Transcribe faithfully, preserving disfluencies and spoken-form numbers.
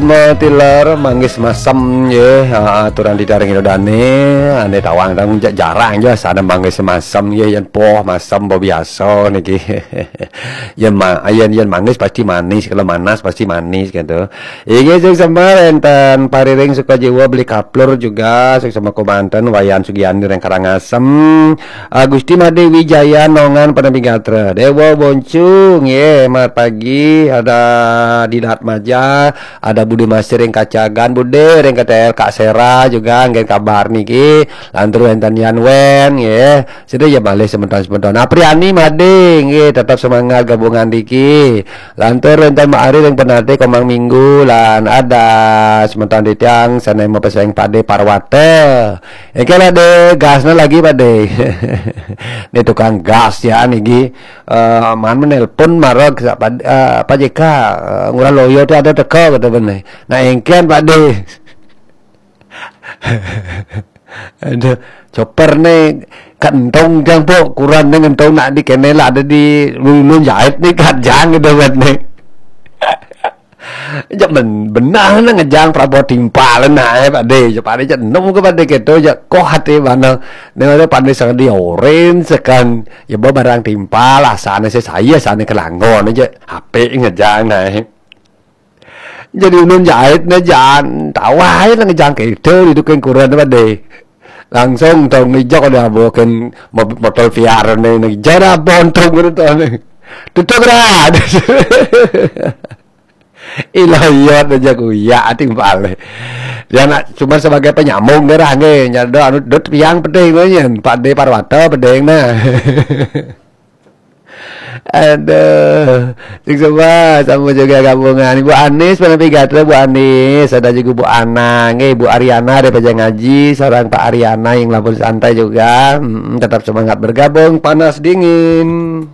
Matilar manggis masem ye, ha, aturan di daring ino dane, ane tawang tang ja-, jarang je sana manggis masem ye, yen poh masem bo biasa niki. Yen ma-, yen, yen manggis pasti manis, kalau manas pasti manis gitu. Inggih, sing semar enten Pariring Sukajiwa beli kaplur juga, sing semar komanten Wayan Sugiani reng Karangasem, Agusti Made Wijaya Nongan Panampi Gatra, Dewa Boncu, nggih, mat pagi, ada Didat Maja, ada Bude Masih ring Kacagan, Bude ring K T L Kak Sera juga, nggih kabar niki, lantur wenten Yan Wen, nggih, sida ya malih semeton-semeton. Apriani Made, nggih, tetap semangat gabungan niki. Lantur wenten Mak Ari ring Penate Komang Minggu, lan ada semeton titiang sane mapeseng Pade Parwata. Engke lah de gasne lagi, Pade. Ni tukang gas ya niki. Eh, man menelpon mara ke Pak, eh, Pak J K, eh, Ngurah Loyo tu ada teka kata bene. Nah, engken Pade. Aduh, chopper ne kentong jang po, kuran ne ngentong nak di kene lah ada di ulun jahit ni kat jang gitu kan ne. Jak men-, benah ne ngejang Prabowo timpal nah, eh, Pade. Jak Pade jak enum ke Pade keto, jak koh ati bana. Ne ada Pade sang di oren sekan, ya ba barang timpal, asane se saya, asane kelangon aja. Ape ngejang nah, eh. Jadi ulun jahit ne jan, tawai lah ngejang keto di duken kuran Pade. Langsung tong ngejak ada bawakan mob-, motor Viar ne, ne jara bontong gitu ne. Tutup rat. Ilah iya aja kuya timpal. Dia nak cuma sebagai penyambung gerah nggih. Nyado anu dot piang penting tu nyen. Pade Parwata penting nah. Aduh, sing sembah sama juga gabungan. Ibu Anis, Panampi Gatra, Bu Anis, ada juga Bu Ana, nggih, Bu Ariana dari Pejang Ngaji, seorang Pak Ariana yang lapor santai juga. Mm, tetap semangat bergabung, panas dingin.